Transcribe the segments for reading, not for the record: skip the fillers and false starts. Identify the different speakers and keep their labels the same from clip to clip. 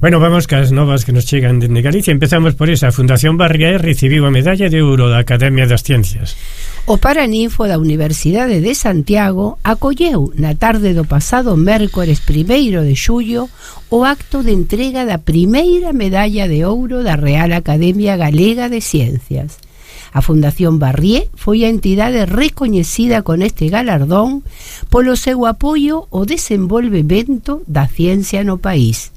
Speaker 1: Bueno, vamos cas novas que nos chegan dende Galicia. Empezamos por esa. A Fundación Barrié recibiu a medalla de ouro da Academia das Ciencias.
Speaker 2: O Paraninfo da Universidade de Santiago acolleu na tarde do pasado mércores 1º de xullo o acto de entrega da primeira medalla de ouro da Real Academia Galega de Ciencias. A Fundación Barrié foi a entidade recoñecida con este galardón polo seu apoio ao desenvolvemento da ciencia no país.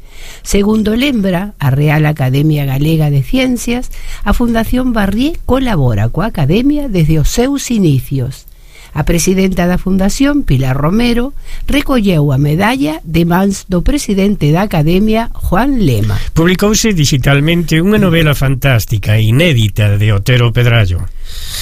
Speaker 2: Segundo lembra a Real Academia Galega de Ciencias, a Fundación Barrié colabora coa Academia desde os seus inicios. A presidenta da Fundación, Pilar Romero, recolleu a medalla de mans do presidente da Academia, Juan Lema.
Speaker 1: Publicouse digitalmente unha novela fantástica e inédita de Otero Pedrallo.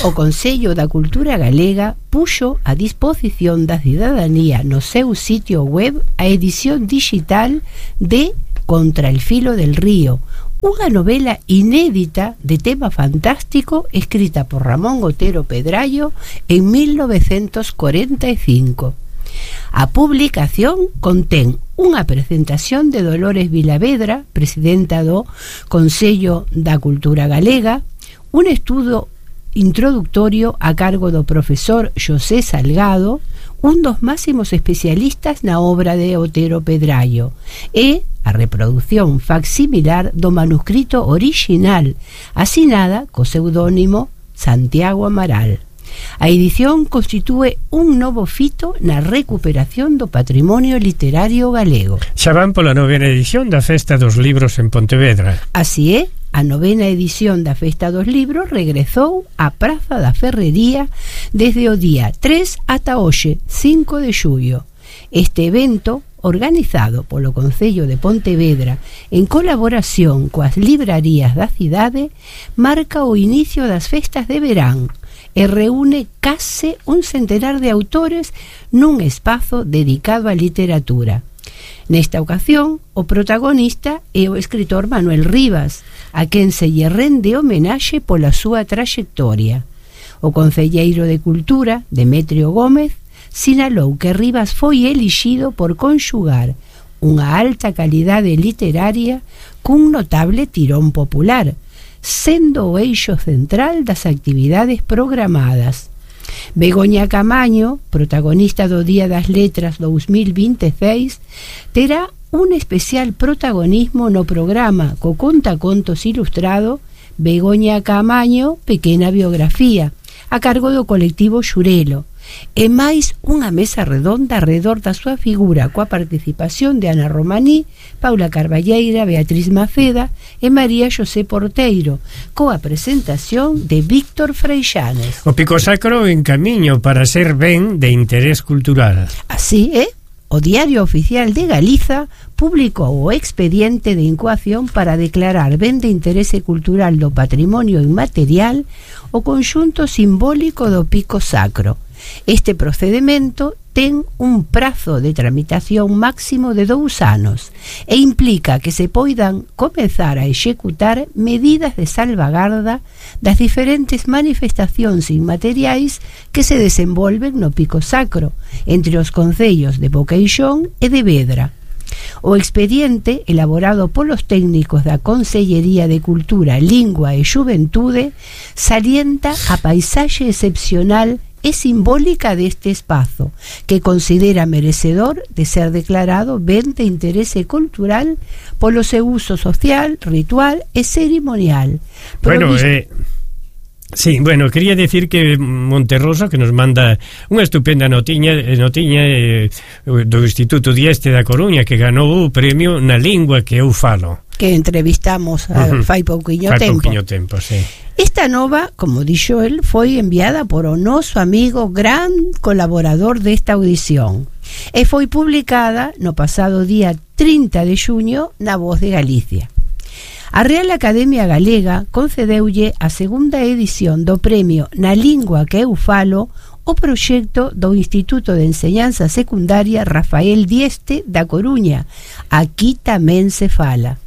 Speaker 2: O Consello da Cultura Galega puxo a disposición da cidadanía no seu sitio web a edición digital de Contra el filo del río, unha novela inédita de tema fantástico escrita por Ramón Otero Pedrallo en 1945. A publicación contén unha presentación de Dolores Vilavedra, presidenta do Consello da Cultura Galega, un estudo introductorio a cargo do profesor Xosé Salgado, un dos máximos especialistas na obra de Otero Pedrallo, e a reproducción facsimilar do manuscrito orixinal, asinada co pseudónimo Santiago Amaral. A edición constitúe un novo fito na recuperación do patrimonio literario galego.
Speaker 1: Xa van pola 9ª edición da Festa dos Libros en Pontevedra.
Speaker 2: Así é, a 9ª edición da Festa dos Libros regresou á Praza da Ferrería desde o día 3 ata hoxe, 5 de xullo. Este evento, organizado polo Concello de Pontevedra en colaboración coas librarías da cidade, marca o inicio das festas de verán e reúne case un centenar de autores nun espazo dedicado á literatura. Nesta ocasión, o protagonista é o escritor Manuel Rivas, a quen se lle rende homenaxe pola súa traxectoria. O concelleiro de Cultura, Demetrio Gómez, sinalou que Rivas foi elixido por conxugar unha alta calidade literaria cun notable tirón popular, sendo o eixo central das actividades programadas. Begoña Camaño, protagonista do Día das Letras 2026, terá un especial protagonismo no programa co contacontos ilustrado Begoña Camaño, pequena biografía, a cargo do colectivo Xurelo, e máis unha mesa redonda arredor da súa figura coa participación de Ana Romaní, Paula Carballeira, Beatriz Maceda e María Xosé Porteiro, coa presentación de Víctor Freixanes.
Speaker 1: O Pico Sacro en camiño para ser ben de interés cultural.
Speaker 2: Así é, o Diario Oficial de Galiza publicou o expediente de incoación para declarar ben de interese cultural do patrimonio inmaterial o conxunto simbólico do Pico Sacro. Este procedimento ten un prazo de tramitación máximo de 2 anos e implica que se poidan comezar a executar medidas de salvagarda das diferentes manifestacións inmateriais que se desenvolven no Pico Sacro, entre os concellos de Boqueixón e de Vedra. O expediente, elaborado polos técnicos da Consellería de Cultura, Lingua e Xuventude, salienta a paisaxe excepcional e simbólica deste espazo, que considera merecedor de ser declarado ben de interese cultural polo seu uso social, ritual e cerimonial.
Speaker 1: Bueno, sí, bueno, quería decir que Monterroso, que nos manda unha estupenda notiña do Instituto Dieste da Coruña, que ganou o premio na lingua que eu falo,
Speaker 2: que entrevistamos fai pouquiño tempo,
Speaker 1: sí.
Speaker 2: Esta nova, como dixo el, foi enviada por o noso amigo gran colaborador desta audición e foi publicada no pasado día 30 de xuño na Voz de Galicia. A Real Academia Galega concedeulle a segunda edición do premio Na Lingua que eu falo o proxecto do Instituto de Enseñanza Secundaria Rafael Dieste da Coruña. Aquí tamén se fala.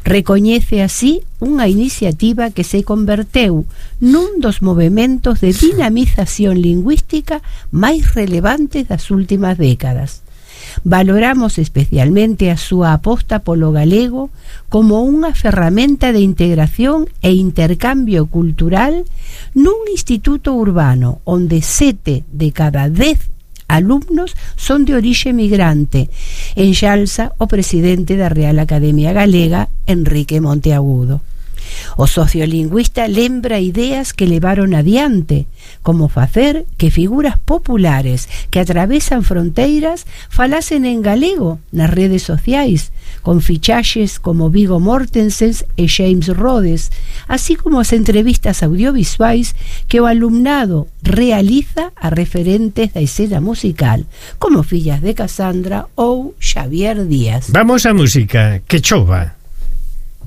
Speaker 2: Recoñece así unha iniciativa que se converteu nun dos movementos de dinamización lingüística máis relevantes das últimas décadas. Valoramos especialmente a súa aposta polo galego como unha ferramenta de integración e intercambio cultural nun instituto urbano onde 7 de cada 10 alumnos son de orixe migrante, enxalza o presidente da Real Academia Galega, Enrique Monteagudo. O sociolingüista lembra ideas que levaron adiante, como facer que figuras populares que atravesan fronteiras falasen en galego nas redes sociais, con fichaxes como Viggo Mortensen e James Rhodes, así como as entrevistas audiovisuais que o alumnado realiza a referentes da escena musical, como Fillas de Casandra ou Xavier Díaz.
Speaker 1: Vamos á música, que chova.